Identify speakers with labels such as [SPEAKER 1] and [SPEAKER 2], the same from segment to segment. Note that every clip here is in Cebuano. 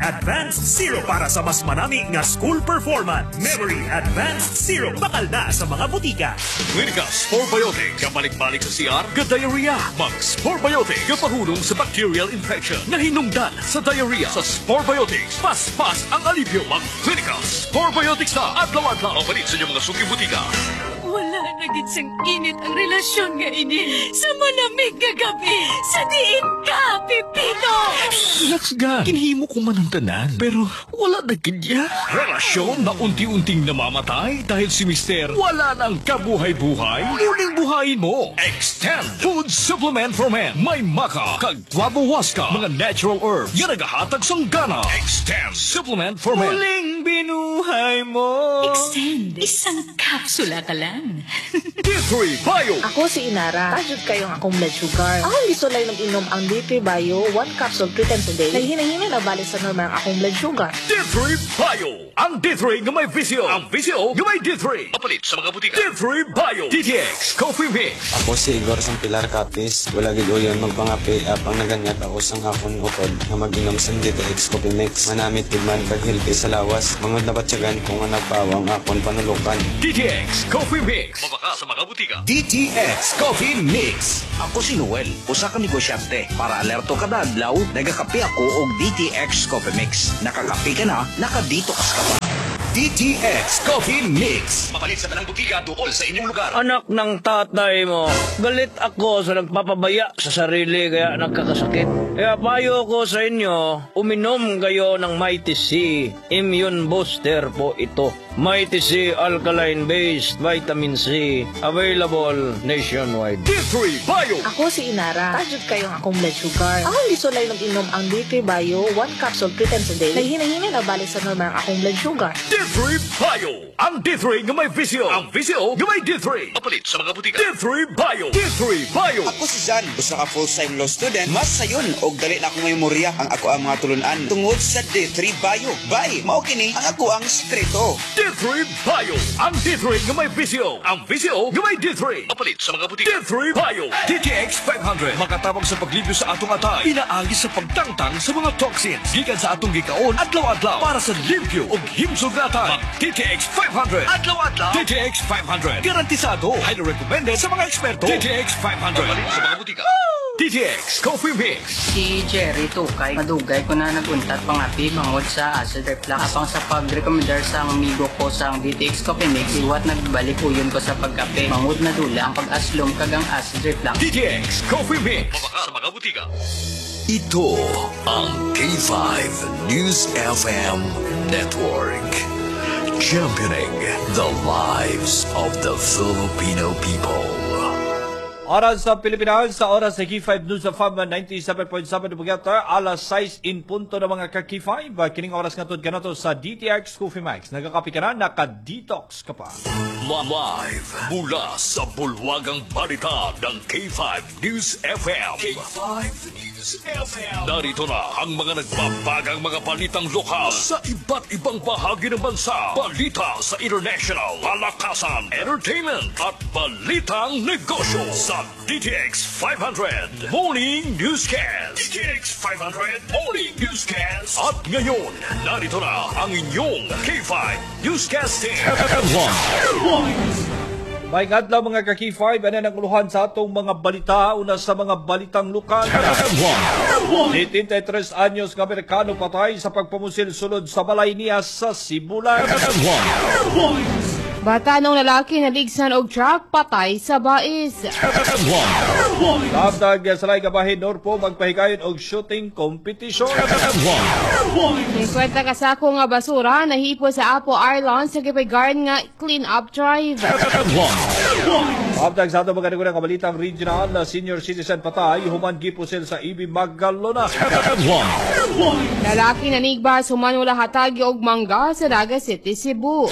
[SPEAKER 1] Advanced Syrup para sa mas manami nga school performance. Memory Advanced Syrup. Bakal na sa mga butika.
[SPEAKER 2] Clinica Sporebiotic. Kabalik-balik sa CR, ga-diarrhea. Mag Sporebiotic. Gapahulong sa bacterial infection. Nahinungdan sa diarrhea. Sa Sporebiotics, paspas ang alibyo. Mag Clinica Sporebiotics na. Adlaw-adlaw. Mapalit sa inyong mga suking butika.
[SPEAKER 3] Wala na gid sang init ang relasyon nga ini. Sa malamig nga gabi, sa diin ka, Pipino!
[SPEAKER 2] Relax ga. Kinhimo ko man ang tanan. Pero wala na gid ya. Relasyon na unti-unting namamatay dahil si Mister wala nang kabuhay-buhay. Muling buhayin mo. Extend Food Supplement for Men. May maca, kag guabahuasca, mga natural herbs. Nga nagahatag sang gana. Extend Supplement for Men.
[SPEAKER 4] Muling binuhay mo.
[SPEAKER 3] Extend. Isang kapsula ka lang.
[SPEAKER 2] D3 Bio.
[SPEAKER 5] Ako si Inara. Taas jud kaayo ang akong blood sugar. Akong gisulay mag-inom ang D3 Bio, one capsule three times a day. Naghinay-hinay na balik sa normal ang akong blood sugar.
[SPEAKER 2] D3 Bio. Ang D3 nga may VCO. Ang VCO nga may D3. Mapalit sa mga butika. D3 Bio. DTX Coffee Mix.
[SPEAKER 6] Ako si Igor sang Pilar Capiz. Wala gid uyon magpangape apang naganyat ako sang akon utod nga mag-inom sang DTX Coffee Mix. Manamit gid man kag healthy sa lawas. Mangod nabatyagan ko nga nagpawa ang akon panulukan.
[SPEAKER 2] DTX Coffee Mix. Mabaka sa mga butika.
[SPEAKER 7] DTX Coffee Mix. Ako si Noel, usa ka negosyante. Para alerto kada adlaw, nagakape ako og DTX Coffee Mix. Nakakape ka na, naka-detox ka pa. DTX Coffee Mix.
[SPEAKER 2] Mapalit sa tanang butika duol sa inyong lugar.
[SPEAKER 4] Anak ng tatay mo, galit ako sa nagpapabaya sa sarili kaya nagkakasakit. Kaya payo ko sa inyo, uminom kayo ng Mighty C. Immune booster po ito. Mighty C Alkaline Based Vitamin C. Available nationwide.
[SPEAKER 2] D3 Bio.
[SPEAKER 5] Ako si Inara. Taas jud kaayo ang akong blood sugar. Akong gisulay mag-inom ang D3 Bio, one capsule three times a day. Naghinay-hinay na balik sa normal ang akong blood sugar.
[SPEAKER 2] D3 Bio. Ang D3 nga may VCO. Ang VCO nga may D3. Mapalit sa mga butika. D3 Bio. D3 Bio.
[SPEAKER 8] Ako si Jan, usa ka full-time law student. Mas sayon og dali na akong memorya ang ako ang mga tulunan tungod sa D3 Bio. Bay, mao kini ang ako ang sekreto.
[SPEAKER 2] D3 Bio. Ang D3 nga may VCO. Ang VCO nga may D3. Mapalit sa mga butika. D3 Bio. DTX 500. Makatabang sa paglibyo sa atong atay. Inaagi sa pagtangtang sa mga toxins. Gikan sa atong gikaon adlaw-adlaw para sa limpyo ug himsog na atay. Mag DTX 500. Adlaw-adlaw. DTX 500. Garantisado. Highly recommended sa mga eksperto. DTX 500. Mapalit sa mga butika. DTX Coffee Mix.
[SPEAKER 9] Si Jerry Tukay, madugay ko na naguntat pangapi bangod sa acid reflux. Apang sa pag-recommendar sa amigo ko sa DTX Coffee Mix, iwat nagbalik uyon ko sa pagkape. Mangod na dula ang pag-aslom kag ang acid reflux.
[SPEAKER 2] DTX Coffee Mix. Mabaka sa mga butika.
[SPEAKER 10] Ito ang K5 News FM Network. Championing the lives of the Filipino people.
[SPEAKER 11] Oras sa Pilipinas, sa oras sa K5 News FM 97.7 Bugata, alas 6 in punto ng mga ka-K5. Kining oras nga kanato sa DTX Coffee Max. Nagakape ka na, naka-detox ka pa.
[SPEAKER 2] Live mula sa bulwagang balita ng K5 News FM. K5 News FM. Narito na ang mga nagbabagang mga balitang lokal sa iba't ibang bahagi ng bansa. Balita sa international, palakasan, entertainment at balitang negosyo sa DTX 500 Morning Newscast. DTX 500 Morning Newscast. At ngayon, narito na ang inyong K5 Newscast Team.
[SPEAKER 11] May adlaw, mga ka-K5, ano ang uluhan sa atong mga balita? Una sa mga balitang lokal. 73 anyos nga Amerikano patay sa pagpamusil sulod sa balay niya sa Sibulan.
[SPEAKER 12] Batan-ong lalaki naligsan og truck, patay sa bais.
[SPEAKER 11] Tabdag sa laing bahin, Norpo magpahigayon og shooting competition.
[SPEAKER 12] 50 ka sako nga basura nahipo sa Apo Island sa gipahigayon nga clean up drive.
[SPEAKER 11] Tabdag sa atong mga naguna kabalitang regional na senior citizen patay human gipusil sa EB Magalona.
[SPEAKER 12] Lalaki nanigba human wala hatagi og mangga sa Naga City, Cebu.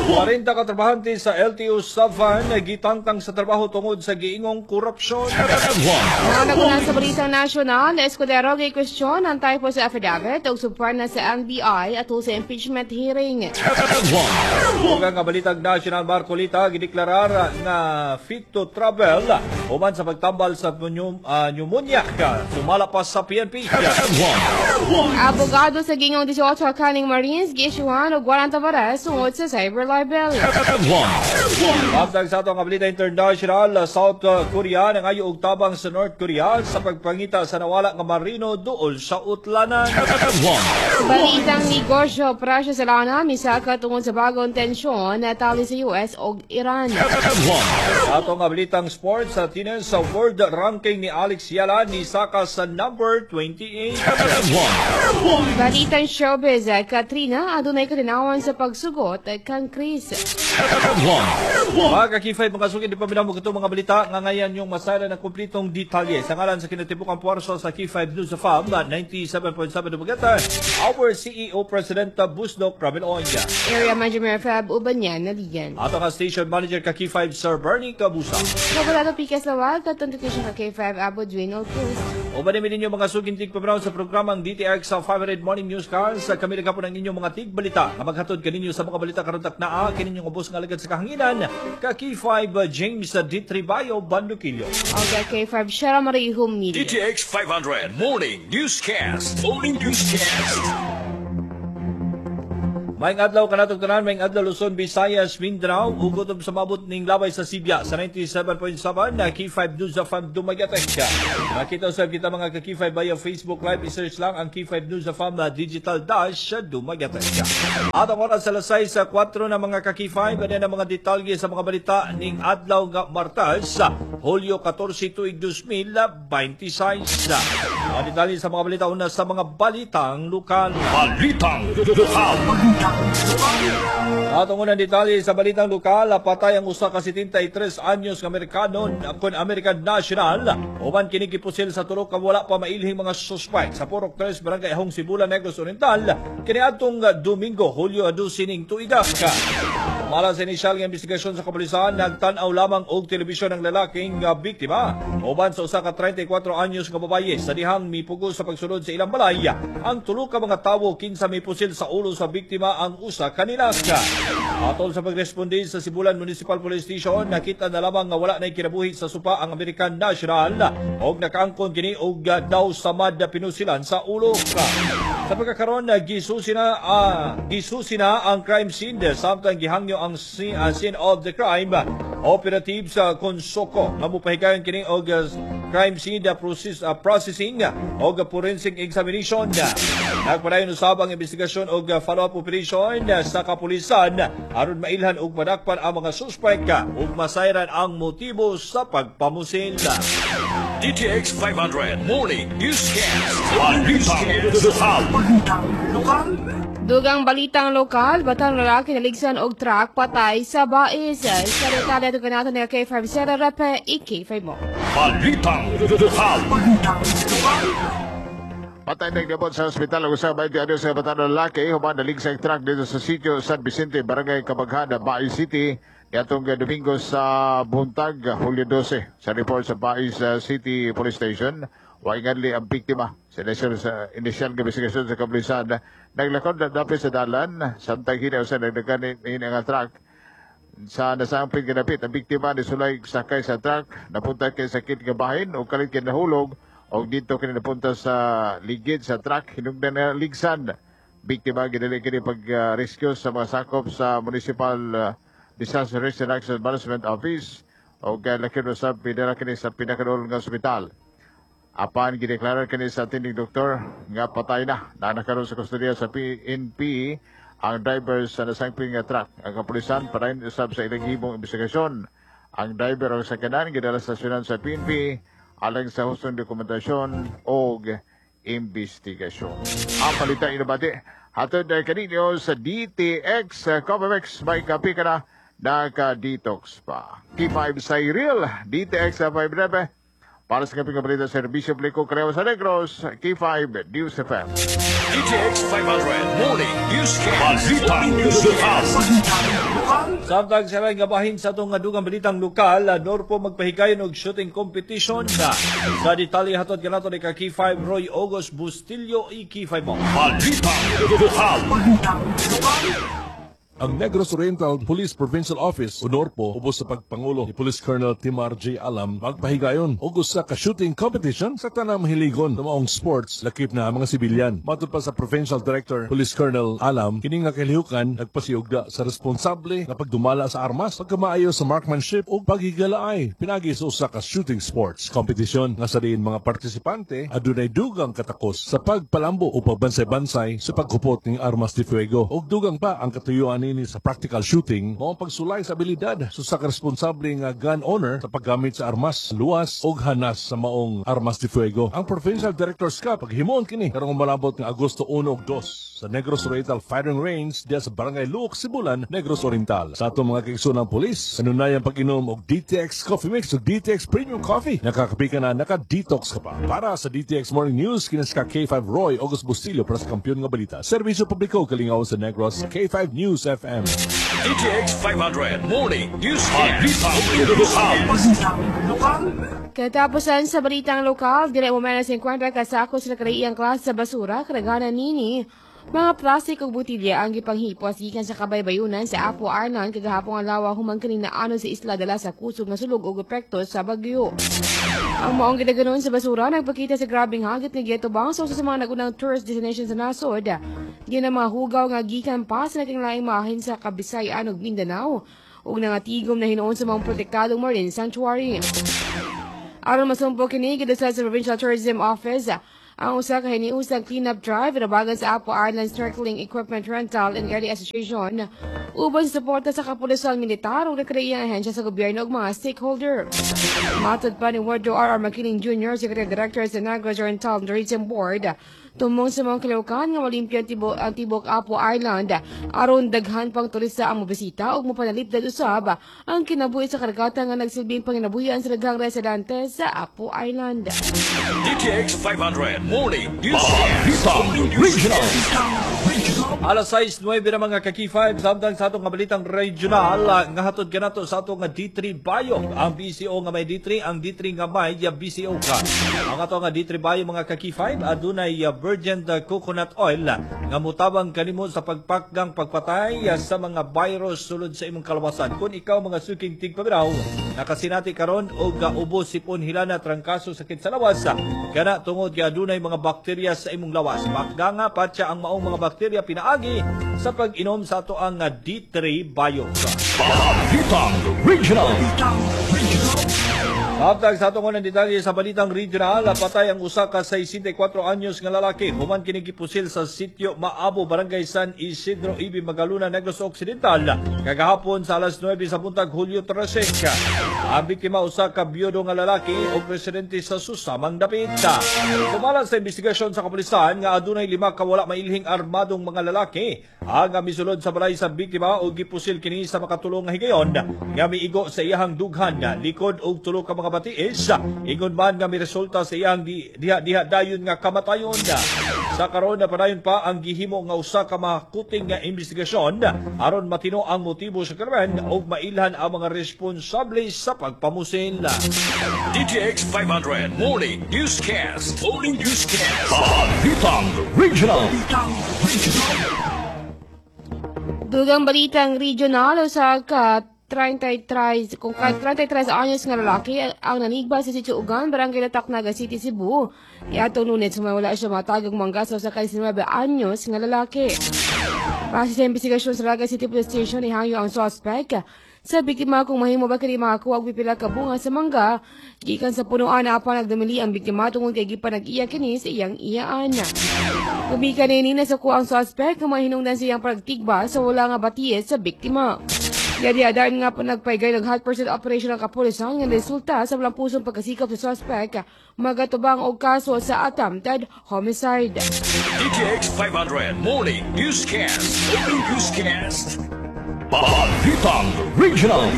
[SPEAKER 11] 40 ka trabahante sa LTO Savan gitangtang sa trabaho tungod sa giingong korupsyon.
[SPEAKER 12] Mga nagunan sa Balitang Nasyonal, Escudero gay question ang typo sa affidavit ug subpoena sa NBI atol sa impeachment hearing.
[SPEAKER 11] Ug ang Balitang National, Marcoleta gideklarar nga fit to travel human sa pagtambal sa pneumonia, sumala pa sa PNP.
[SPEAKER 12] Abogado sa gingong 18 kaning Marines giisyuhan og warrant of arrest tungod sa cyber libel.
[SPEAKER 11] Samtang sa atong balita international, South Korea nangayo og tabang sa North Korea sa pagpangita sa nawala nga marino duol sa Utlanan.
[SPEAKER 12] Balitang negosyo, presyo sa lana misaka tungod sa bagong tensyon na tali sa US ug Iran.
[SPEAKER 11] Atong balitang sports, sa tennis, sa world ranking ni Alex Eala ni saka sa number 28.
[SPEAKER 12] Balitang showbiz, Katrina adunay kalinawan sa pagsugot kang Kris.
[SPEAKER 11] Mga ka-K5, mga suki, di pa mo ito mga balita nga ngayon yung masala ng kumplitong detalye. Sa ngalan sa kinatibukang puwersa sa K5 News FM 97.7 Dumaguete, our CEO President Busnok Ramil Onya.
[SPEAKER 12] Area Manager Mayor Fab Ubanyan Naligan.
[SPEAKER 11] Ato nga Station Manager ka K5 Sir Bernie Kabusa.
[SPEAKER 12] Kabalado Pikas Lawag, katong ka K5 Abo Dwayne Cruz.
[SPEAKER 11] Uban namin ninyo, mga suking tigpaminaw, sa programang DTX sa 500 Morning Newscast. Kami nagapon ang inyong mga tigbalita nga maghatod kaninyo sa mga balita karon taknaa kini inyong ubos nga alagad sa kahanginan ka K5 James D. Tribayo Bandukillo.
[SPEAKER 12] Og K5 Shara Marie Humilio.
[SPEAKER 2] DTX 500 Morning Newscast. Morning Newscast.
[SPEAKER 11] Maayong adlaw kanatong tanan, maayong adlaw Luzon, Visayas, Mindanao, ug kutob sa mabot ning labay sa Sibya sa 97.7 na K5 News FM Dumaguete. Makita usab kita, mga ka-K5, via Facebook Live, i-search lang ang K5 News FM na Digital Dash Dumaguete. At ang oras sa alas 6 sa 4 na, mga ka-K5, ano ang mga detalye sa mga balita ning adlaw nga Martes, Hulyo 14, tuig 2026. Mga detalye sa mga balita, una sa mga balitang lokal.
[SPEAKER 2] Balitang Lokal.
[SPEAKER 11] At ang unang detalye sa balitang lokal, patay ang usa ka 73 anyos nga Amerikano kon American national uban kini gipusil sa tulo ka wala pa mailhing mga suspect sa Purok 3, Barangay Ahong Sibulan, Negros Oriental kaniadtong Domingo, Hulyo 12 ning tuiga. Mala sa inisyal nga investigasyon sa kapulisan, nagtan-aw lamang og telebisyon ang lalaking biktima uban sa usa ka 34 anyos nga babaye sa dihang mipugos sa pagsulod sa ilang balay. Ang tulo ka mga tawo kinsa mipusil sa ulo sa biktima ang usa kanila. Atol sa pagresponde sa Sibulan Municipal Police Station, nakita na lamang nga wala na kinabuhi sa sopa ang American national og nakaangkon kini og daw samad na pinusilan sa ulo. Sa pagkakaroon, gisusi na ang crime scene samtang gihangyo ang scene of the crime operative sa Konsoco nga mopahigayon kini og crime scene processing og forensic examination. Nagpadayon usab ang investigasyon og follow-up operation sa kapulisan aron mailhan og madakpan ang mga suspek ug masayran ang motibo sa pagpamusil.
[SPEAKER 2] DTX 500 Morning Newscast. Balitang Lokal.
[SPEAKER 12] Dugang balitang lokal, batang lalaki naligsan og truck, patay sa Bais. Sa detalye ito kanato ni K5 Sera Repe, i-K5 mo.
[SPEAKER 2] Balitang Lokal.
[SPEAKER 13] Patay nagdabot sa ospital ang usa 20 anyos sa batang lalaki human naligsang truck dito sa sitio San Vicente, Barangay Cabaghana, Bais City niadtong Domingo sa buntag, Hulyo 12. Sa report sa Bais City Police Station, way nganli ang biktima. Sa initial nga investigasyon sa kapulisan, naglakod na dapit sa dalan samtang hinaw sa nagdagan nga truck sa nasangpit ganapit. Ang biktima ni sulay sakay sa truck, napunta kay sakit nga bahin o kalit kay nahulog og dito kini napunta sa ligid sa truck hinungdan na ligsan. Biktima gidali kini pag rescue sa mga sakop sa Municipal Disaster Risk Reduction Management Office og lakip usab pidala kini sa pinakaduol nga ospital. Apan gideklarar kini sa attending doktor nga patay na. Naa karon sa kustodiya sa PNP ang driver sa nasangping nga truck. Ang kapulisan padayon usab sa ilang himong investigasyon. Ang driver og sakyanan gidala sa stasyonan sa PNP alang sa hustong dokumentasyon og investigasyon. Ang balita inabati hatod na kaninyo sa DTX Coffee Mix. May kape ka na, naka-detox pa. K5 Cyril, DTX 5 9. Para sa kaping balita, Serbisyo Publiko, Creo sa Negros, K5 News FM.
[SPEAKER 2] DTX 500 Morning Newscast. Balitang Lokal.
[SPEAKER 11] Samtang sa nga bahin sa atong dugang balitang lokal, Norpo magpahigayon og shooting competition na. Sa detalye hatod kanato ni ka K5 Roy August Bustillo, i-K5 mo.
[SPEAKER 2] Balitang Lokal.
[SPEAKER 14] Ang Negros Oriental Police Provincial Office o NORPO ubos sa pagpangulo ni Police Colonel Timar J. Alam magpahigayon og usa ka shooting competition sa tanang mahiligon sa maong sports, lakip na mga sibilyan. Matod pa sa Provincial Director Police Colonel Alam, kini nga kalihukan nagpasiugda sa responsable nga pagdumala sa armas, pagkamaayo sa marksmanship ug paghigalaay pinagi sa usa ka shooting sports competition nga sa diin mga partisipante adunay dugang katakos sa pagpalambo o pagbansay-bansay sa paghupot ning armas de fuego, ug dugang pa ang katuyuan nini sa practical shooting mao ang pagsulay sa abilidad sa usa ka responsable nga gun owner sa paggamit sa armas, luwas ug hanas sa maong armas de fuego. Ang Provincial Director's Cup paghimuon kini karong malabot nga Agosto 1 ug 2 sa Negros Oriental Firing Range diya sa Barangay Luok, Sibulan, Negros Oriental. Sa atong mga kaigsoonang pulis, kanunayang pag-inom og DTX Coffee Mix ug DTX Premium Coffee. Nakakapi ka na, naka-detox ka pa. Para sa DTX Morning News, kinas ka K5 Roy August Bustillo para sa kampiyon nga balita. Serbisyo publiko, kalingaw sa Negros, K5 News FM.
[SPEAKER 2] DTX 500 Morning Newscast. Balitang Lokal.
[SPEAKER 12] Katapusan sa balitang lokal, dire mo na 50 kasako sa nakaraiyang klase sa basura, karaghanan nini mga plastik ug botilya ang gipanghipos gikan sa kabaybayunan sa Apo Island kagahapon adlaw human kini naano sa isla dala sa kusog nga sulog ug epekto sa bagyo. Ang maong gidaganon sa basura nagpakita sa grabeng hagit nga giatubang sa usa sa mga nagunang tourist destination sa nasod. Diyan ang mga hugaw nga gikan pa sa naging mahin sa Kabisayan ug Mindanao ug nangatigom na hinuon sa mga protektadong marine sanctuary. Aron masumpong kini, gidasal sa Provincial Tourism Office ang usa ka hiniusang clean-up drive inabagan sa Apo Island Snorkeling Equipment Rental and Guiding Association uban sa suporta sa kapulisan militar ug nakaraiyang ahensya sa gobyerno ug mga stakeholder. Matod pa ni Wardo R.R. Makiling Jr., Secretary Director sa Negros Oriental Tourism Board, tumong sa mga kalihukan nga malimpyo ang tibok Apo Island aron daghan pang turista ang mobisita ug mapanalipdan usab ang kinabuhi sa karagatan nga nagsilbing panginabuhian sa daghang residente sa Apo Island.
[SPEAKER 2] DTX 500 Morning Newscast. Balitang Regional.
[SPEAKER 11] Alas 6:09 na, mga ka-K5, samtang sa atong nga balitang regional, nga hatod kanato sa atong nga D3 Bio. Ang BCO nga may D3, ang D3 nga may BCO ka. Ang atong nga D3 Bio, mga ka-K5, adunay virgin coconut oil nga mutabang kanimo sa pagpakgang pagpatay sa mga virus sulod sa imong kalawasan. Kung ikaw, mga suking tigpaminaw, nakasinati karon og ubo, sipon, hilana, trangkaso, sakit sa lawas, kana tungod kay adunay mga bakterya sa imong lawas. Pakganga patya ang maong mga bakterya pinaagi sa pag-inom sa ato ang D3 Bio.
[SPEAKER 2] Balitang Regional.
[SPEAKER 11] Samtang sa atong unang detalye sa balitang regional, patay ang usa ka 64 anyos nga lalaki human kini gipusil sa sitio Maabo, Barangay San Isidro, Ibi, Magalona, Negros Occidental kagahapon sa alas 9 sa buntag, Hulyo 13. Ang biktima usa ka biyudo nga lalaki ug residente sa susamang dapit. Sumala sa investigasyon sa kapulisan nga adunay lima ka wala mailhing armadong mga lalaki ang misulod sa balay sa biktima ug gipusil kini sa makatulong nga higayon nga miigo sa iyahang dughan, likod ug tulo ka mga batiis. Ingon man nga miresulta sa iyang diha-diha dayon nga kamatayon. Sa karon na padayon pa ang gihimo nga usa ka makuting nga investigasyon aron matino ang motibo sa krimen ug mailhan ang mga responsable sa pagpamusil.
[SPEAKER 2] DTX 500 Morning Newscast. Morning Newscast. Balitang Regional.
[SPEAKER 12] Dugang balitang regional, sa ka 33 kung ka 33 anyos nga lalaki ang nanigba sa Sitio Ugan, Barangay Latak, Naga City, Cebu. Iatong Lunes, wala siya matagong mangga sa usa ka 19 anyos nga lalaki. Base sa investigasyon sa Naga City Police Station, ihangyo ang suspect sa biktima kung mahimo ba kini makakuha og pipila ka bunga sa mangga gikan sa punuan, apan nagdumili ang biktima tungod kay gipanag-iya kini sa iyang iyaan. Gumikan nini nasuko ang suspect nga mahinungdan sa iyang pagtigba sa wala nga batiis sa biktima. Yadi adayon nga po nagpaygay ng hot pursuit operation ang kapulisan nga resulta sa walang pusong pagkasikap sa suspect magatubang og kaso sa attempted homicide.
[SPEAKER 2] DTX 500 Morning Newscast. Morning Newscast. Balitang Regional.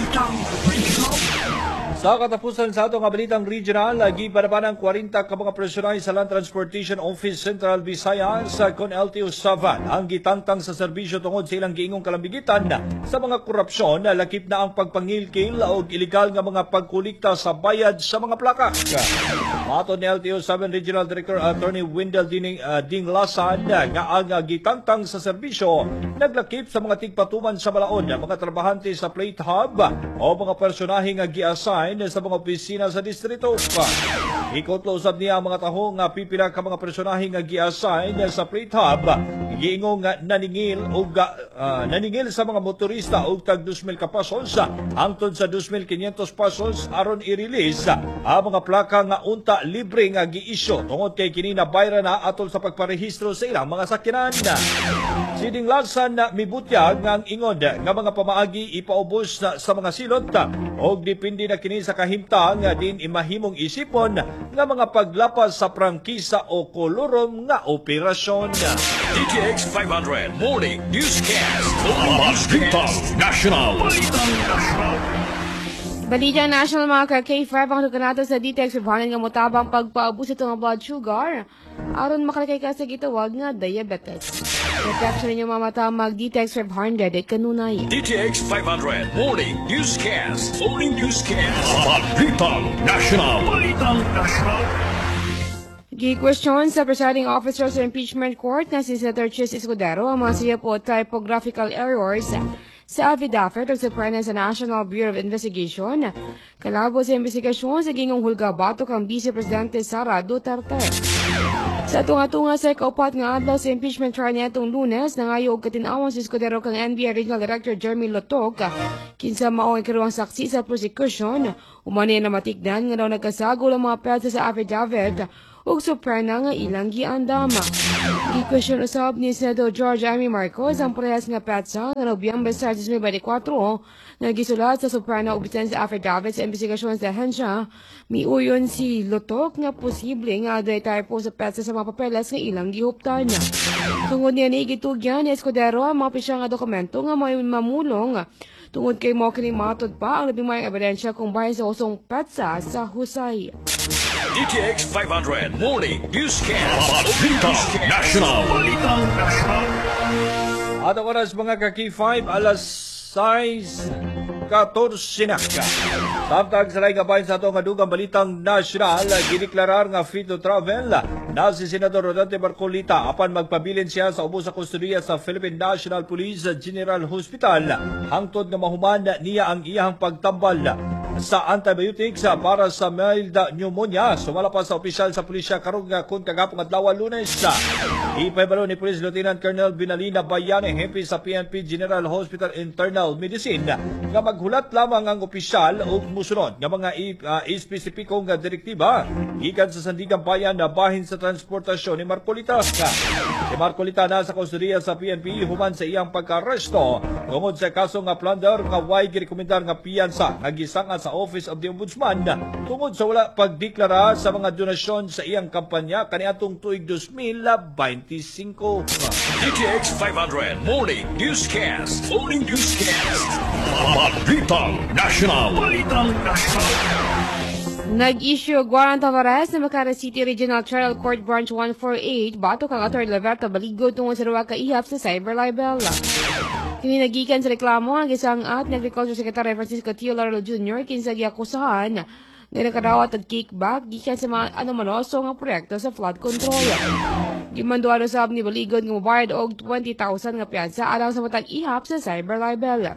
[SPEAKER 11] Sa katapusan sa atong balitang regional, gipanapan ang 40 ka mga personay sa Land Transportation Office Central Visayas kon LTO 7 ang gitangtang sa serbisyo tungod sa ilang giingong kalambigitan sa mga korupsyon, lakip na ang pagpangilkil o ilegal nga mga pagkulikta sa bayad sa mga plaka. Matod ni LTO 7 Regional Director Attorney Wendell Dinglasan nga ang gitangtang sa serbisyo naglakip sa mga tigpatuman sa balaod, mga trabahante sa plate hub o mga personahe nga gi-assign sa mga opisina sa distrito. Ikutlo usab niya ang mga taho nga pipila ka mga personahe nga gi-assign sa plate hub giingong nga naningil sa mga motorista og tag 2,000 ka pesos hangtod sa 2,500 pesos aron i-release ang mga plaka nga unta libre nga gi-issue tungod kay kini nabayra na atol sa pagparehistro sa ilang mga sakyanan. Si Dinglasan na mibutyag nga ang ingon nga mga pamaagi ipaubos na sa mga silot og depende na kini sa kahimtang din imahimong isipon nga mga paglapas sa prangkisa o kolorum nga operasyon.
[SPEAKER 2] DTX 500 Morning Newscast. Balitang National. Balitang National.
[SPEAKER 12] Balita National, mga ka-K5, ang nato sa DTX 500 nga mutabang pagpaubos ito ng blood sugar aron makalikay ka sa gitawag nga diabetes. Protection ninyo mga mata, mag DTX 500 at kanunay.
[SPEAKER 2] DTX 500 Morning Newscast. Morning Newscast. Balitang National. Balitang National.
[SPEAKER 12] Gi-question sa presiding officer sa impeachment court na si Senator Chis Escudero ang mga siya po typographical errors sa affidavit of subpoena sa National Bureau of Investigation kalabo sa investigasyon sa gingong hulga batok ang Vice Presidente Sara Duterte. Sa tunga-tunga sa ikaupat nga adlaw sa impeachment trial niadtong Lunes, nangayo og katin-awon si Escudero kang NBI Regional Director Jeremy Lotoc, kinsa mao ang ikaduhang saksi sa prosecution. Umani na matikdan nga daw nagkasagol ang mga petsa sa affidavit ug subpoena nga ilang giandam. Gi-question usab ni Senator George Imee Marcos ang parehas nga petsa nga Nobyembre sa 2024 nga gisulat sa subpoena ug bisan sa affidavit sa investigasyon sa ahensya. Miuyon si Lotoc nga posible nga adunay typo sa petsa sa mga papeles nga ilang gihuptan. Tungod niya ni gitugyan ni Escudero ang mga opisyal nga dokumento nga may mamulong tungod kay mao kini matod pa ang labing maayong ebidensya kung bahin sa usong petsa sa husay.
[SPEAKER 2] DTX 500 Morning Newscast. Balitang National. Balitang National.
[SPEAKER 11] At ang oras, mga ka-K5, alas 6:14 na. Samtang sa laing bahin sa atong dugang balitang nasyonal, gideklarar nga fit to travel na si Senador Rodante Marcoleta apan magpabilin siya sa ubos sa kustodiya sa Philippine National Police General Hospital hangtod nga mahuman niya ang iyahang pagtambal sa antibiotics para sa mild pneumonia, sumala pa sa opisyal sa pulisya karong kun kagahapon adlaw, Lunes. Ipahibalo ni Police Lieutenant Colonel Binalina Bayani, hepe sa PNP General Hospital Internal Medicine, nga maghulat lamang ang opisyal ug musunod nga mga espesipikong direktiba gikan sa Sandiganbayan na bahin sa transportasyon ni Marcoleta. Si Marcoleta nasa kustodiya sa PNP human sa iyang pagkaresto tungod sa kaso nga plunder nga way girekomendar nga piyansa nga gisangad sa Office of the Ombudsman tungod sa wala pagdeklara sa mga donasyon sa iyang kampanya kaniadtong tuig 2025.
[SPEAKER 2] DTX 500 Morning Newscast. Morning Newscast. Balitang National. Balitang National.
[SPEAKER 12] Nag-issue og warrant of arrest sa Makati City Regional Trial Court Branch 148 batok kang Atty. Leverto Baligod tungod sa duha ka ihap sa cyber libel. Kini nagikan sa reklamo ang gisang-at ni Agriculture Secretary Francisco Tio Laurel Jr. kinsa giakusahan nga nakadawat og kickback gikan sa mga anomaloso nga proyekto sa flood control. Gimanduan usab ni Baligod nga mobayad og 20,000 nga piyansa alang sa matag ihap sa cyber libel.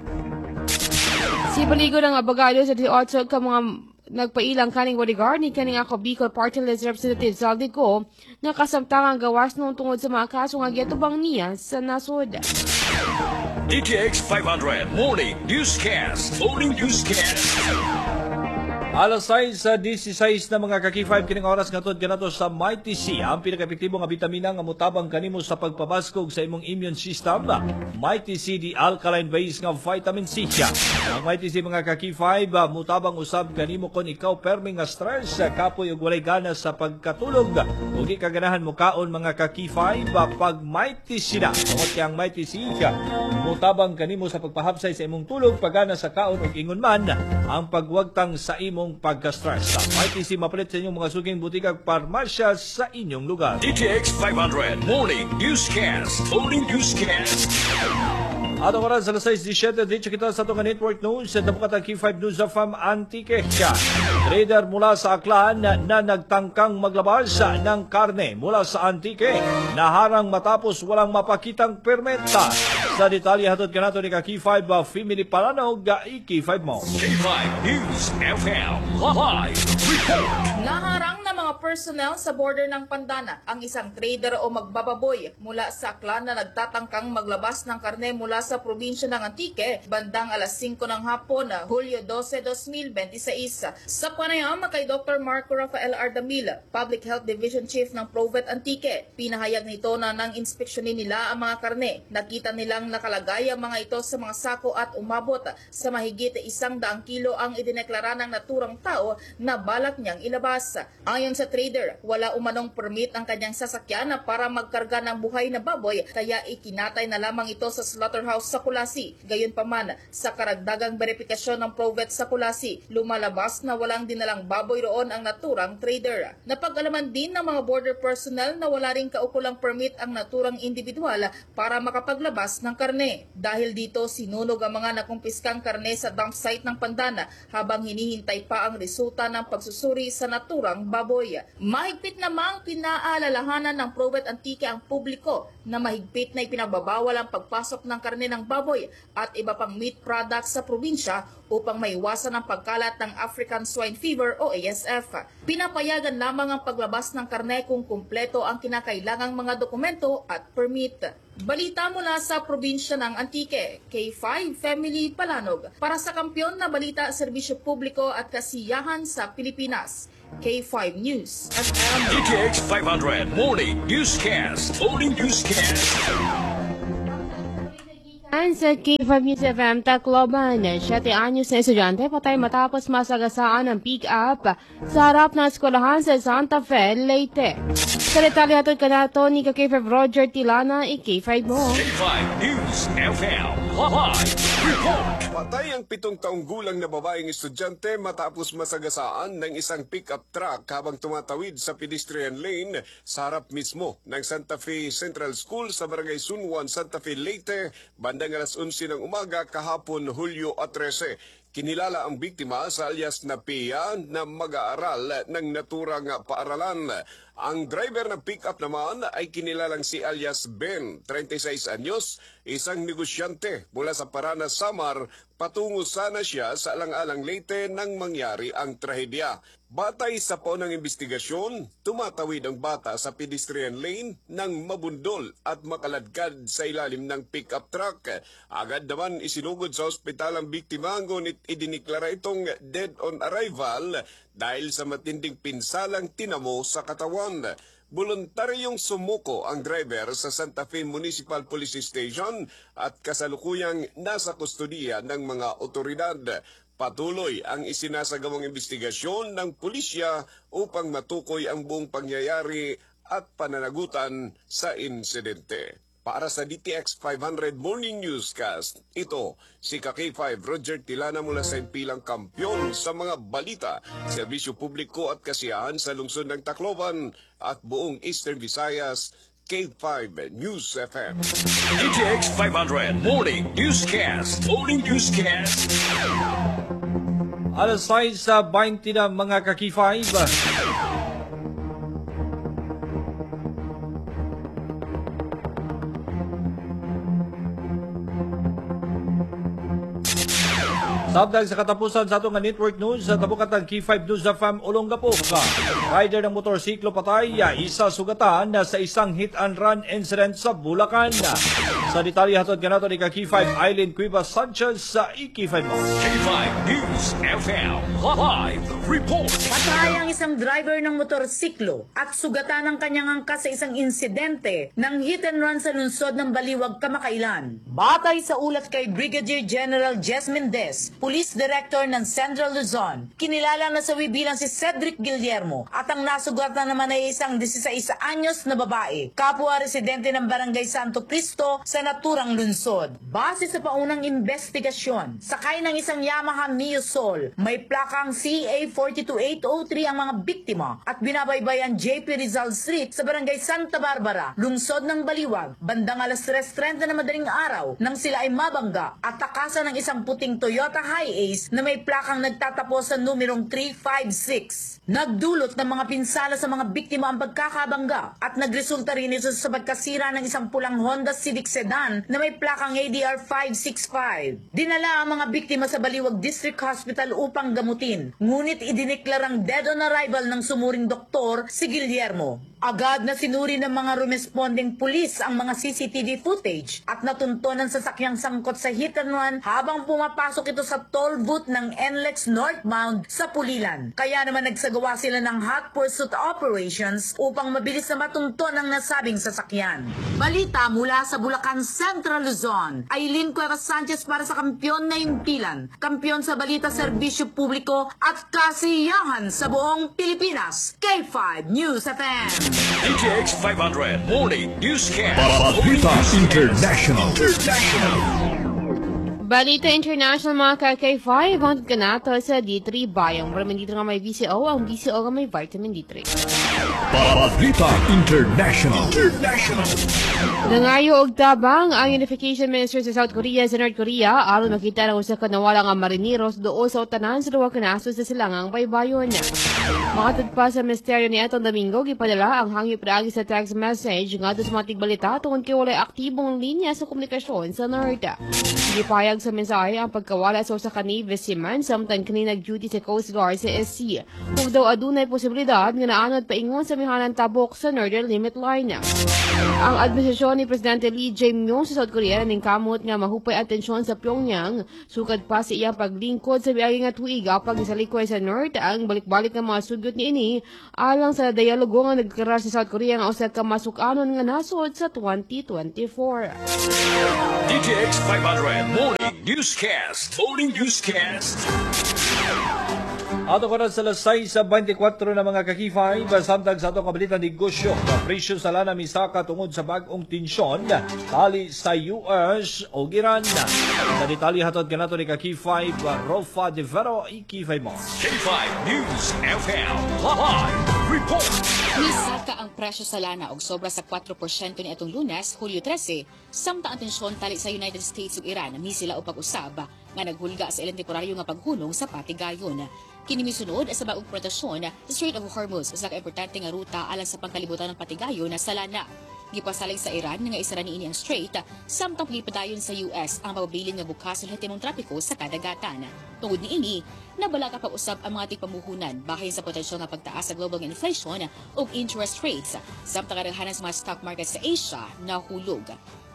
[SPEAKER 12] Si Baligod ang abogado sa 18 ka mga nagpailang kaning bodyguard ni kaning Ako Bicol Party List Representative Zaldy Co nga kasamtangang gawas noong tungod sa mga kaso nga giatubang niya sa nasod.
[SPEAKER 2] DTX 500 Morning Newscast. Morning Newscast.
[SPEAKER 11] Alas 6:16 na, mga ka-K5, kining oras ngatod kanato sa Mighty C, ang pinaka-epektibo nga bitamina nga mutabang kanimo sa pagpabaskog sa imong immune system. Mighty C, the alkaline base nga vitamin C. Ang Mighty C, mga ka-K5, mutabang usab kanimo kon ikaw permi nga stress, kapoy ug walay gana sa pagkatulog ug di ka ganahan mukaon, mga ka-K5, pag Mighty C na. Tungod kay ang Mighty C mutabang kanimo sa pagpahapsay sa imong tulog, pagana sa kaon ug ingon man ang pagwagtang sa imong imong pagka-stress. Mighty C mapalit sa inyong mga suking butika ug parmasya sa inyong lugar.
[SPEAKER 2] DTX 500 Morning Newscast. Morning Newscast.
[SPEAKER 11] Ato karon sa alas 6:17, dito kita sa atong network news sa tabukat ang K5 News FM Antique. Trader mula sa Aklan na nagtangkang maglabas ng karne mula sa Antique naharang matapos walang mapakitang permit. Sa detalye hatod kanato ni ka K5 Family Palanog, i-K5 mo.
[SPEAKER 2] K5 News FM Live Report.
[SPEAKER 15] Naharang ng mga personnel sa border ng Pandana ang isang trader o magbababoy mula sa Aklan na nagtatangkang maglabas ng karne mula sa probinsya ng Antique bandang alas 5 ng hapon, Hulyo 12, 2026. Sa panayam kay Dr. Marco Rafael Ardamil, Public Health Division Chief ng Provet Antique, pinahayag nito na nang inspeksyonin nila ang mga karne, nakita nilang nakalagay ang mga ito sa mga sako at umabot sa mahigit 100 kilo ang idineklara ng naturang tao na balak niyang ilabas. Ayon sa trader, wala umanong permit ang kanyang sasakyan para magkarga ng buhay na baboy, kaya ikinatay na lamang ito sa slaughterhouse sa Kulasi. Gayunpaman, sa karagdagang verifikasyon ng Provet sa Kulasi, lumalabas na walang dinalang baboy roon ang naturang trader. Napag-alaman din ng mga border personnel na wala ring kaukulang permit ang naturang individual para makapaglabas ng karne. Dahil dito, sinunog ang mga nakumpiskang karne sa dump site ng Pandana habang hinihintay pa ang resulta ng pagsusuri sa naturang baboy. Mahigpit namang pinaalalahanan ng Provet Antique ang publiko na mahigpit na ipinagbabawal ang pagpasok ng karne ng baboy at iba pang meat products sa probinsya upang maiwasan ang pagkalat ng African Swine Fever o ASF. Pinapayagan lamang ang paglabas ng karne kung kumpleto ang kinakailangang mga dokumento at permit. Balita mula sa probinsya ng Antique, K5 Family Palanog, para sa kampiyon na balita, serbisyo publiko at kasiyahan sa Pilipinas. K5 News FM.
[SPEAKER 2] DTX 500 Morning Newscast. Morning Newscast.
[SPEAKER 12] Ang sa K5 News FM Tacloban, 7 anyos na estudyante patay matapos masagasaan ang pick-up sa harap ng eskwelahan sa Santa Fe, Leyte. Sa detalye hatod kanato ni ka K5 Roger Tilana, i-K5 mo.
[SPEAKER 2] K5 News FM Live Report.
[SPEAKER 16] Patay ang 7 taong gulang na babaeng estudyante matapos masagasaan ng isang pick-up truck habang tumatawid sa pedestrian lane sa harap mismo ng Santa Fe Central School sa Barangay Sunwan, Santa Fe, Leyte, bandang alas 11 ng umaga kahapon, Hulyo 13. Kinilala ang biktima sa alias na Pia na mag-aaral ng naturang paaralan. Ang driver ng pick-up naman ay kinilalang si alias Ben, 36 anyos, isang negosyante mula sa Parana, Samar. Patungo sana siya sa Alang-Alang, Leyte nang mangyari ang trahedya. Batay sa paunang investigasyon, tumatawid ang bata sa pedestrian lane nang mabundol at makaladkad sa ilalim ng pick-up truck. Agad naman isinugod sa ospital ang biktima, ngunit idiniklara itong dead on arrival dahil sa matinding pinsalang tinamo sa katawan. Voluntaryong sumuko ang driver sa Santa Fe Municipal Police Station at kasalukuyang nasa kustodiya ng mga otoridad. Patuloy ang isinasagawang investigasyon ng pulisya upang matukoy ang buong pangyayari at pananagutan sa insidente. Para sa DTX 500 Morning Newscast, ito si K5 Roger Tilana mula sa impilang kampyon sa mga balita, serbisyo publiko at kasiyahan sa lungsod ng Tacloban at buong Eastern Visayas, K5 News FM.
[SPEAKER 2] DTX 500 Morning Newscast. Morning Newscast.
[SPEAKER 11] Alas 6:20 na, mga ka-K5. Sabdag sa katapusan sa atong network news sa tabukatang K5 News FM Olongapo. Rider ng motorsiklo patay, isa sugatan sa isang hit and run incident sa Bulacan. Sa detalye hatod kanato ni ka K5 Eileen Cuevas Sanchez sa i-K5 mo.
[SPEAKER 2] K5 News FM Live Report.
[SPEAKER 17] Patay ang isang driver ng motorsiklo at sugatan ang kanyang angkas sa isang insidente ng hit and run sa lungsod ng Baliwag kamakailan. Batay sa ulat kay Brigadier General Jess Mendez Police Director ng Central Luzon. Kinilala na sawi bilang si Cedric Guillermo at ang nasugatan naman ay isang 16 anyos na babae, kapwa residente ng Barangay Santo Cristo sa naturang lungsod. Base sa paunang investigasyon, sakay ng isang Yamaha Mio Soul, may plakang CA 42803 ang mga biktima at binabaybay ang JP Rizal Street sa Barangay Santa Barbara, lungsod ng Baliwag, bandang alas 3:30 na madaling araw nang sila ay mabangga at takasan ng isang puting Toyota Hiace na may plakang nagtatapos sa numerong 356. Nagdulot ng mga pinsala sa mga biktima ang pagkakabangga at nagresulta rin ito sa pagkasira ng isang pulang Honda Civic sedan na may plakang ADR 565. Dinala ang mga biktima sa Baliwag District Hospital upang gamutin, ngunit idineklarang dead on arrival ng sumuring doktor si Guillermo. Agad na sinuri ng mga rumespondeng pulis ang mga CCTV footage at natunton ang sasakyang sangkot sa hit and run habang pumapasok ito sa toll booth ng NLEX northbound sa Pulilan. Kaya naman nagsagawa sila ng hot pursuit operations upang mabilis na matunton ang nasabing sasakyan. Balita mula sa Bulacan, Central Luzon. Aileen Cuevas Sanchez para sa Kampiyon na Himpilan, kampiyon sa balita, serbisyo publiko at kasiyahan sa buong Pilipinas. K5 News FM.
[SPEAKER 2] DTX 500 Morning Newscast.
[SPEAKER 10] Balita International.
[SPEAKER 12] Balita International, mga ka-K5, hangtod kanato sa D3 Bayang. Vitamin D3 nga may VCO, ang VCO nga may vitamin D3.
[SPEAKER 10] Balita International. International.
[SPEAKER 12] Nangayo og tabang ang Unification Minister sa South Korea sa North Korea aron makita ang usa ka nawala nga marineros duol sa utanan sa duha ka nasod sa silangang baybayon. Makatod pa sa misteryo, niadtong Domingo gipadala ang hangyo pinaagi sa text message ngadto sa mga tigbalita tungod kay walay aktibong linya sa komunikasyon sa North. Gipahayag sa mensahe ang pagkawala sa usa ka Navy seaman samtang kini nag-duty sa Coast Guard sa SC. Ug daw adunay posibilidad nga naanod paingon sa amihanan tabok sa Northern Limit Line. Ang administrasyon ni Presidente Lee Jae-myung sa South Korea ningkamot nga mahupay ang tensyon sa Pyongyang sukad pa sa iyang paglingkod sa miagi nga tuig apang gisalikway sa North ang balik-balik nga mga sugyot niini alang sa dialogo nga nagkarar sa South Korea nga usa ka masuk-anon nga nasod sa 2024.
[SPEAKER 2] DTX 500 Morning Newscast. Morning Newscast.
[SPEAKER 11] Ato karon sa alas 6:24 na, mga ka-K5, samtang sa atong kabalita negosyo. Presyo sa lana misaka tungod sa bag-ong tensyon tali sa US o Iran. Sa detalye, hatod kanato ni ka-K5 Rofa de Vero, i-K5 mo.
[SPEAKER 2] K5 News FM Live Report.
[SPEAKER 18] Misaka ang presyo sa lana og sobra sa 4% niadtong Lunes, Hulyo 13, samtang ang tensyon tali sa United States ug Iran misila og pag-usab nga naghulga sa ilang temporaryo nga paghunong sa patigayon. Kini misunod sa bagong proteksyon sa Strait of Hormuz, usa ka importante nga ruta alang sa pangkalibutan ng patigayon sa lana. Gipasalig sa Iran nga isara niini ang strait samtang gipadayon sa US ang pagpabilin nga bukas sa lehitimong trapiko sa kadagatan. Tungod niini, nabalaka pag-usab ang mga tigpamuhunan bahin sa potensyal nga pagtaas sa global inflation ug interest rates samtang kadaghanan sa mga stock market sa Asia nahulog.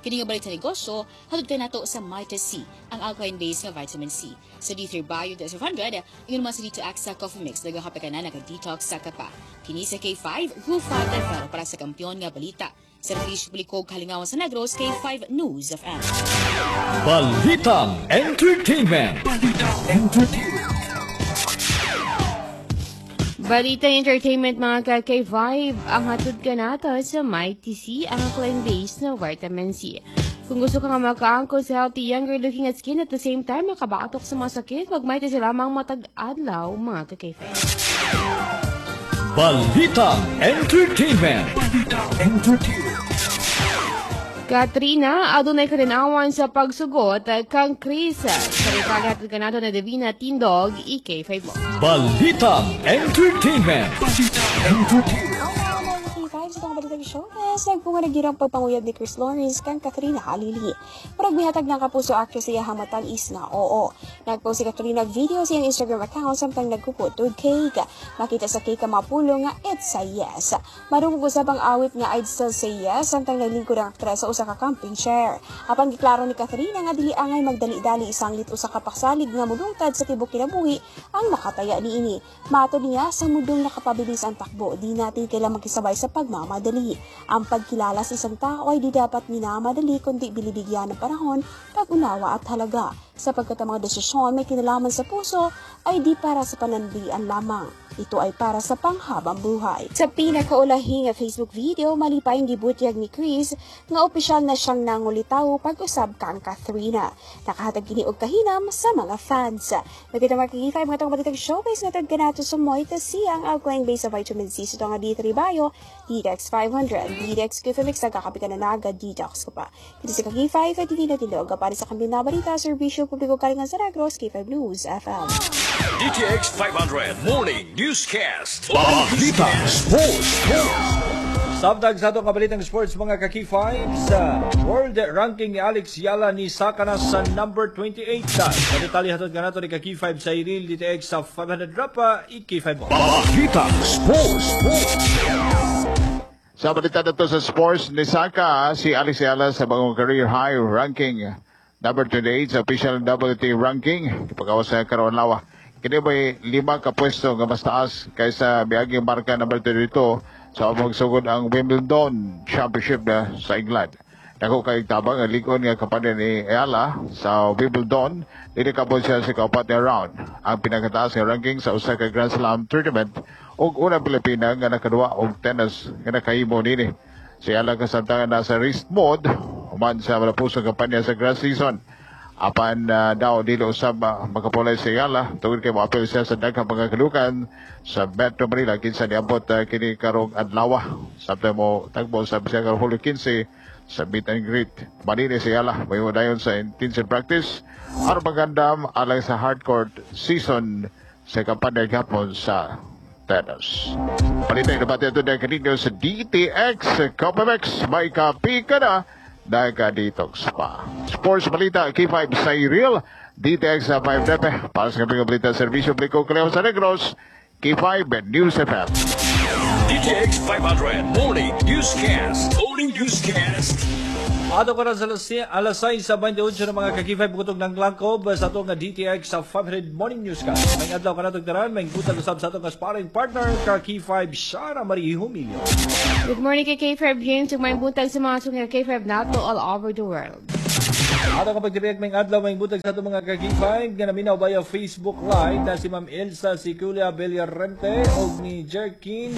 [SPEAKER 18] Kini nga balita negosyo, hatod kanato sa Mighty C, ang alkaline-based nga vitamin C. Sa D3 Bio 500, ingon man sa D2 Axa Coffee Mix, nagakape ka na, nag-detox sa ka pa. Kini sa K5, Rufa Del Ferro para sa kampiyon nga balita. Serbisyo publiko kalingawan sa Negros, K5 News FM.
[SPEAKER 10] Balitang Entertainment. Balitang Entertainment.
[SPEAKER 12] Balita Entertainment, mga ka-K5, ang hatod kanato sa Mighty C, ang alkaline-based na vitamin C. Kung gusto ka nga makaangkon sa healthy, younger looking at skin at the same time makabatok sa mga sakit, mag Mighty C lamang matag adlaw, mga ka-K5.
[SPEAKER 10] Balitang Entertainment. Balitang Entertainment.
[SPEAKER 12] Katrina, adunay kalinawan sa pagsugot kang Kris. Sa detalye, hatod kanato na Divina Tindog, i-K5 mo.
[SPEAKER 10] Balitang Entertainment. Balitang Entertainment.
[SPEAKER 19] K5 sa itong balitang showbiz, nagbunga na girang pagpanguyab ni Kris Lawrence kang Katrina Halili. Murag mihatag ng Kapuso actress sa iyahang matag-is nga oo. Nagpost si Katrina og video sa iyang Instagram account samtang nagkupot og cake. Makita sa cake ang mga pulong nga "It's a yes." Madungog usab ang awit nga "I'd Still Say Yes" samtang naglingkod ang aktres sa usa ka camping chair. Apan giklaro ni Katrina nga dili angay magdali-dali sanglit usa ka pasalig nga mulungtad sa tibok kinabuhi ang makataya niini. Matod niya, sa mundong nakapabilis ang takbo, di natin kailangan makisabay sa pagmamadali. pananandali. Ang pagkilala sa isang tao ay di dapat minamadali kundi binibigyan ng panahon, pag-unawa at halaga. Sapagkat ang mga desisyon may kinalaman sa puso ay di para sa panandalian lamang. Ito ay para sa panghabang buhay. Sa pinakaulahing Facebook video, malipayong gibutyag ni Chris nga opisyal na siyang nangulitaw pag-usab kang Kathrina. Nakahatag kini og kahinam sa mga fans. Nagkita mga K5 mga tong balitang showbiz nga kanato sa Moita C, ang alkaline base sa vitamin C sa nga D3 Bio, DX 500, DX Glyphemix, nagkakapi ka na naga, detox ka pa. Dito sa K5 at hindi na tindog para sa kambing na balita, serbisyo publiko kalingan sa Negros, K5 News FM.
[SPEAKER 2] DTX 500 Morning Newscast. Balita Sports.
[SPEAKER 11] Samtang sa atong kabalitang sports mga ka-K5 sa world ranking ni Alex Eala ni saka na sa number 28. Sa detalye hatod kanato ni ka-K5 sa Iril DTX sa 500 Rapa, i-K5 mo.
[SPEAKER 2] Balita Sports.
[SPEAKER 13] Sa balita na to sa sports, nisaka si Alex Eala sa bagong career high ranking number 28 sa official WTA ranking. Ipagawas sa karon lawa. Kini may 5 ka pwesto nga mas taas kaysa miaging marka number 22 sa magsugod ang Wimbledon Championship na sa England. Dako kay tabang ang lig-on nga kampanya ni Eala sa Wimbledon, dili kabot siya sa kaupat nga round. Ang pinakataas nga ranking sa usa ka Grand Slam tournament ug unang Pilipina nga nakaduwa og tennis nga nakahimo nini. Si Eala kasamtangan nasa rest mode human sa malapusong kampanya sa grass season. Apan daw dili usab makapulay si Eala tungod kay moapil siya sa daghang mga kalukan sa Metro Manila kinsa niabot kini karong adlaw. Samtang mo tagbo sa siya karong Hulyo 15 sa meet and greet. Manini si Eala may dayon sa intensive practice aron magandam alang sa hardcourt season sa kampanya gapon sa tennis. Balita nabati ito na kaninyo sa DTX Copamex. May kapi ka na, nagka-detox pa. Sports Balita, K5 sa Real, DTX sa 5 Nepe. Para sa kaping balita, Serbisyo Publiko Kaleo sa Negros, K5 News FM.
[SPEAKER 2] DTX 500 Morning Newscast. Morning Newscast.
[SPEAKER 11] Ato ka na sa alas 6:28 ng mga ka-K5 bukotog ng langkob sa atong nga DTX sa 500 Morning Newscast. May adlaw ka na taran, may buntag usab sa atong nga sparring partner ka K5 Shara Marie Humilio.
[SPEAKER 12] Good morning kay K5 James ug may buntag sa mga suki K5 nato all over the world.
[SPEAKER 11] Ato kapag tibiyag may adlaw may buntag sa atong mga ka-K5 nga naminaw via Facebook Live na si Ma'am Elsa Siculia Villarente og ni Jerkin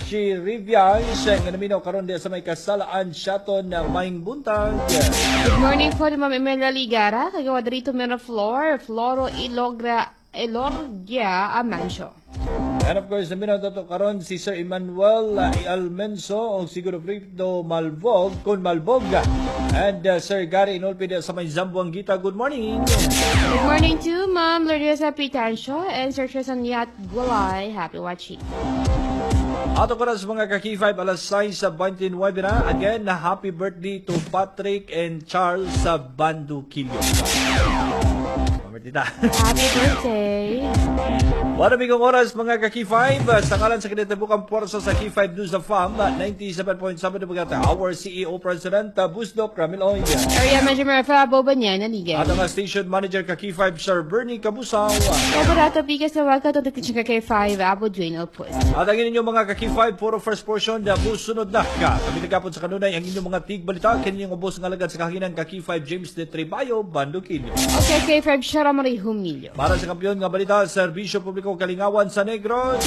[SPEAKER 11] Chirivias nga naminaw karon diya sa may kasalaan Shaton na maing buntag.
[SPEAKER 12] Good morning po ni Ma'am Imelda Ligara, kagawa dito Miraflor, Floro Ilogra Elorgia Amancio.
[SPEAKER 11] And of course, naminaw tato karon si Sir Emmanuel Almenso o siguro Prito Malbog, kun Malbog. And Sir Gary Inolpi sa may Zamboanguita. Good morning.
[SPEAKER 12] Good morning to Ma'am Lourdes Pitancio and Sir Tristan Yat Gulay. Happy watching.
[SPEAKER 11] Ato ko na sa mga ka-K5 alas 6:29 na. Again, happy birthday to Patrick and Charles sa Bandukilyo. Tita.
[SPEAKER 12] Happy birthday.
[SPEAKER 11] Wala bigong oras mga ka-K5 sa ngalan sa kinatibukang puwersa sa K5 News of Fam 97.7 na bagata, our CEO President Busdok Ramil Oy.
[SPEAKER 12] Area Manager Rafael Bobanyan, Naligan.
[SPEAKER 11] At ang Station Manager ka K5 Sir Bernie Kabusaw.
[SPEAKER 12] Operato Pikas na wagka to ka K5 Abo Dwayne Alpus.
[SPEAKER 11] At ang inyong mga ka-K5 puro first portion na busunod na ka. Kami nagapon sa kanunay ang inyong mga tigbalita kinyong ubos ng alagad sa kahaginan ka K5 James de Trebayo, Bandukilyo.
[SPEAKER 12] Okay, K5 Shara Marie Humilio.
[SPEAKER 11] Para sa kampiyon nga balita, Serbisyo Publiko Kalingawan sa Negros.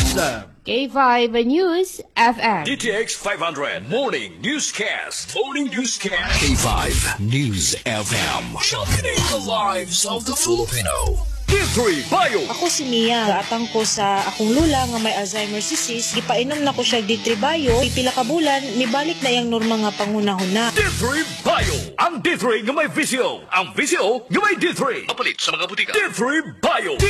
[SPEAKER 12] K5 News FM.
[SPEAKER 2] DTX 500 Morning Newscast. Morning Newscast. K5 News FM. Championing the lives of the Filipino. D3 Bio.
[SPEAKER 20] Ako si Mia. Atang ko sa akong lula nga may Alzheimer's disease. Gipainom na ko siya D3 Bio. Pipila ka bulan, mibalik na iyang normal nga panghunahuna.
[SPEAKER 2] D3 Bio. Ang D3 nga may VCO. Ang VCO nga may D3. Kapalit sa mga butika. D3 Bio.